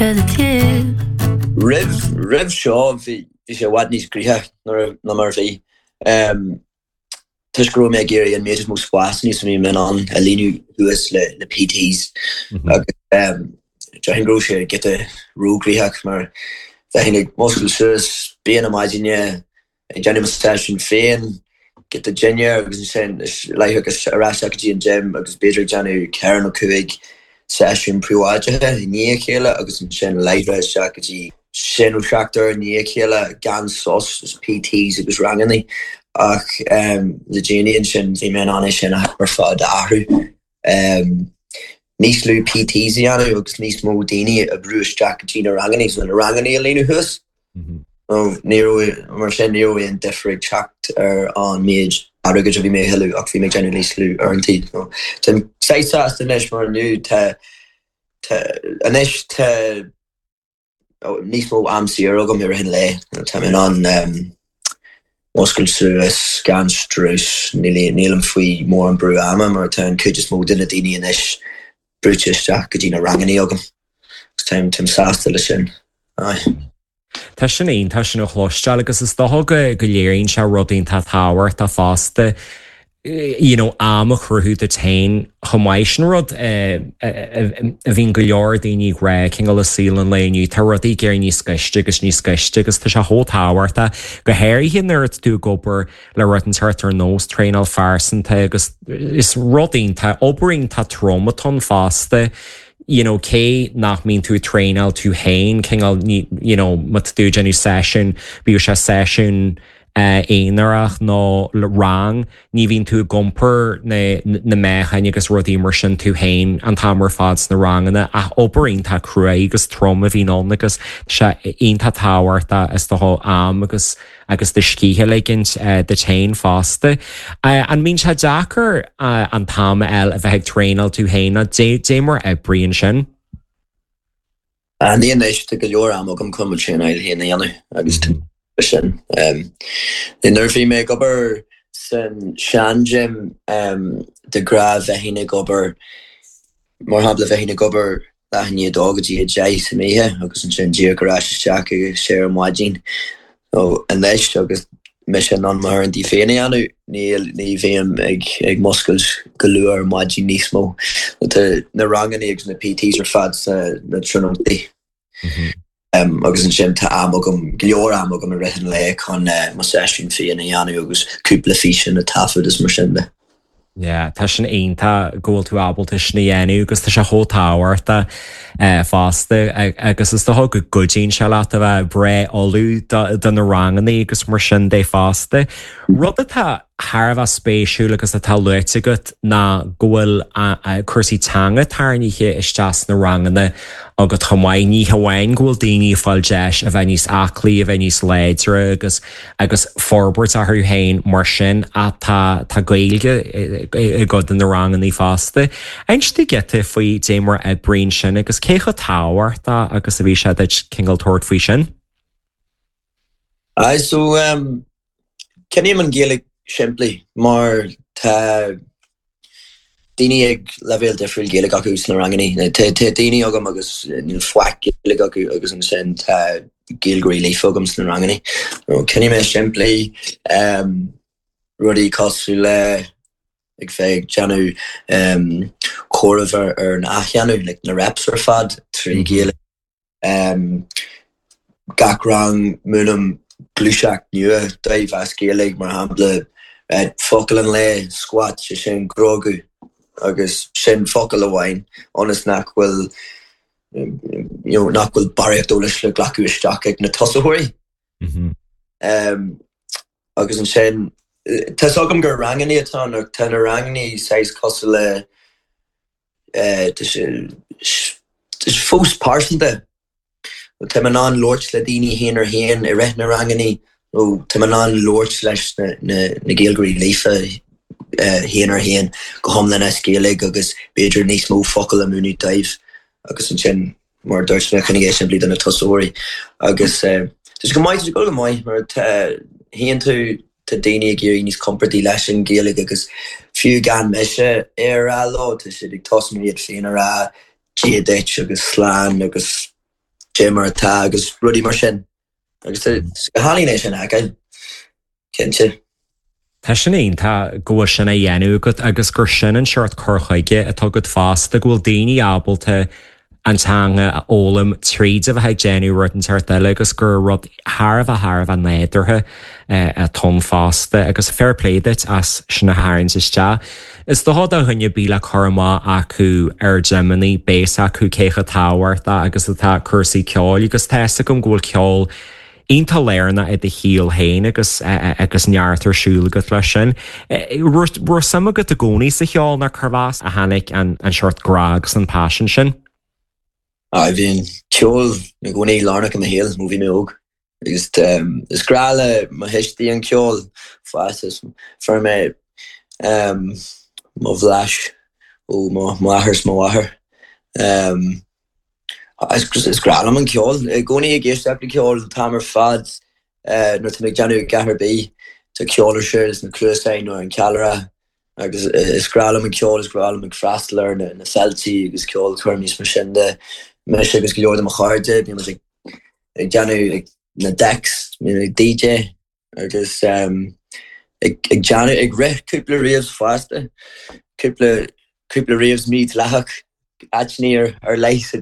Cause it's you. Roimh, roimh seo bhí, bhí sé i bhfad níos gnoithí ná mar a bhí. Toisc go raibh mé ag iarraidh an méid is mó spásanna is a bhí mé in ann a líonadh suas le, le PTs agus déarfainn go raibh sé giota róghnoitheach mar bheinn ag muscailt suas bia na maidine, ag déanamh mo seisiún féin, giota dinnéar agus ansin láithreach ar ais go dtí an gym agus b'fhéidir ag déanamh ceithre nó cúig seisiún príobháideacha i ndiaidh a chéile agus ansin láithreach isteach go dtí sé nó seacht uair i ndiaidh a chéile gan sos is PTs agus ranganna ach le déanaí ansin bhí mé in ann é sin ar fad a athrú. Níos lú PTs a dhéanamh agus níos mó daoine a bhrú isteach go dtí na ranganna, so na ranganna a líonadh suas. Ní raibh, mar sin, ní raibh aon difear ag teacht ar an méid airgid a bhí mé a thuilleamh ach bhí mé ag déanamh níos lú uaireanta. Táim saghas sásta anois mar inniu tá, tá, anois tá níos mó am saor agam i rith an lae. Tá mé in ann muscailt suas gan strus, nílim faoi mórán brú ama mar tá an chuid is mó de na daoine anois brúite isteach go dtí na ranganna agam. Táim, táim sásta leis sin. Aye. Tá sin iontach sin a chloisteáil agus is dócha go go léiríonn sé rud iontach tábhachtach fosta you know am a chruthú duit féin chomh maith. Sin rud a bhíonn go leor daoine ag rá cineál i saol an lae inniu, tá rudaí ag éirí níos gaiste agus níos gaiste agus tá sé chomh tábhachtach go háirithe nuair atá tú ag obair le rud inteacht ar nós traenáil phearsanta agus is rud iontach, obair iontach trom atá ann fosta. you know cé nach mbíonn tú ag traenáil tú féin cineál you know má tá tú ag déanamh seisiún, bíodh sé seisiún aonarach nó rang, ní bhíonn tú ag iompar na na meáchain agus rudaí mar sin tú féin an t-am ar fad sna ranganna ach obair iontach cruaidh agus trom a bhíonn ann agus tá sé iontach tábhachtach is dócha am agus agus do scíth a ligint duit féin fosta. An mbíonn sé deacair an t-am a fháil a bheith ag traenáil tú féin nó dé mar a oibríonn sin? Ní anois, tá go leor am agam chun mo traenáil féin a dhéanamh agus sin. Nuair a bhí mé ag obair san sean-gym de ghnáth bheinn ag obair, mar shampla bheinn ag obair leath i ndiaidh a dó go dtí a deich san oíche agus ansin díreach ar ais isteach ag a sé ar maidin. So anois agus mise in ann m'uaireanta féin a dhéanamh, níl, ní bhím ag, ag muscailt go luath ar maidin níos mó. Tá na ranganna agus na PTs ar fad sna na tráthnóntaí. Agus ansin tá am agam, go leor am agam i rith an lae chun mo seisiún féin a dhéanamh agus cúpla físeán a taifead is mar sin de. Yeah, tá sin iontach go bhfuil tú ábalta sin a dhéanamh agus tá sé chomh tábhachtach fosta agus is dócha go gcuidíonn sé leat a bheith breá ullamh do na ranganna agus mar sin de fosta. Rud atá thar a bheith spéisiúil agus atá luaite agat ná go bhfuil cúrsaí teanga tarraingthe isteach sna ranganna agat chomh maith. Ní hamháin go bhfuil daoine ag fáil deis a bheith níos aclaí, a bheith níos láidre agus agus forbairt orthu féin mar sin ach tá tá Gaeilge i gcuid de na ranganna fosta. Inis dúinn giota faoi dé mar a oibríonn sin agus cé chomh tábhachtach agus a bhí sé duit cineál tabhairt faoi sin. Aye, so um, Coinním an Ghaeilge simplí mar tá daoine ag leibhéal difriúil Gaeilge acu sna ranganna. Tá daoine agam agus níl faic Gaeilge acu agus ansin tá Gaeilgeoirí líofa agam sna ranganna. Coinním é simplí, rudaí cosúil le ag bheith ag déanamh comhaireamh ar an athdhéanamh, like na reps ar fad trí Ghaeilge. Gach rang múinim gluaiseacht nua dóibh as Gaeilge, mar shampla focal an lae, squat, sé sin cniogadh agus sin focal amháin ionas nach bhfuil you know nach bhfuil barraíocht eolais le glacadh isteach ag na tosaitheoirí. Agus ansin tá's agam gur ranganna atá ann ach tá na ranganna saghas cosúil le Tá sé fós pearsanta. Tá mé in ann labhairt le daoine haon ar haon i rith na ranganna nó tá mé in ann labhairt leis na Gaeilgeoirí líofa haon ar haon go hiomlán as Gaeilge agus b'fhéidir níos mó focal a mhúineadh dóibh agus ansin mar a dúirt mé, coinnigh é simplí do na tosaitheoirí. Agus tá sé go maith, tá sé ag dul go maith mar tá, tchíonn tú, tá daoine ag éirí níos compordaí leis an Ghaeilge agus fiú gan mise é a rá leo, tá siad ag tosnú iad féin a rá Dia duit agus slán agus. dé mar atá agus rudaí mar sin. Agus is go hálainn é sin a fheiceáil, cinnte. Tá sin iontach go bhfuil sin á dhéanamh agat agus gur sin an seort cur chuige atá agat fosta, go bhfuil daoine ábalta an teanga a fhoghlaim tríd a bheith ag déanamh rud inteacht eile agus gur rud thar a bheith thar a bheith nádúrtha atá ann fosta agus fair play duit as sin a tharraingt isteach. Is dócha do dhuine ar bith le cur amach acu ar ghimeanna, beidh a fhios acu cé chomh tábhachtach agus atá cúrsaí ceoil agus tá fhios agam go bhfuil ceol iontach lárnach i do shaol féin agus agus neart ar siúl agat leis sin. Raibh suim agat i gcónaí sa cheol nó cérbh as a tháinig an seort grá agus an paisean sin? Aye, bhí an ceol i gcónaí lárnach i mo shaol ó bhí mé óg. Agus is grá le mo thuistí an ceol fosta. Fuair mé mo bhlas ó mo mháthair is mo mháthair. Is grá liom an ceol. I gcónaí ag éisteacht le ceol an t-am ar fad nuair atá mé ag déanamh a dhath ar bith. Tá ceol ar siúl sna cluasáin nó ar an cheallra agus is grá liom an ceol, is grá liom ag freastal ar na feiltí agus ceolchoirmí is mar sin de. Mise agus go leor de mo chairde, bíonn muid ag déanamh na decks, bíonn ag DJ agus ag déanamh, ag rith cúpla raves fosta, cúpla, cúpla raves mídhleathach, áiteanna ar leith sa.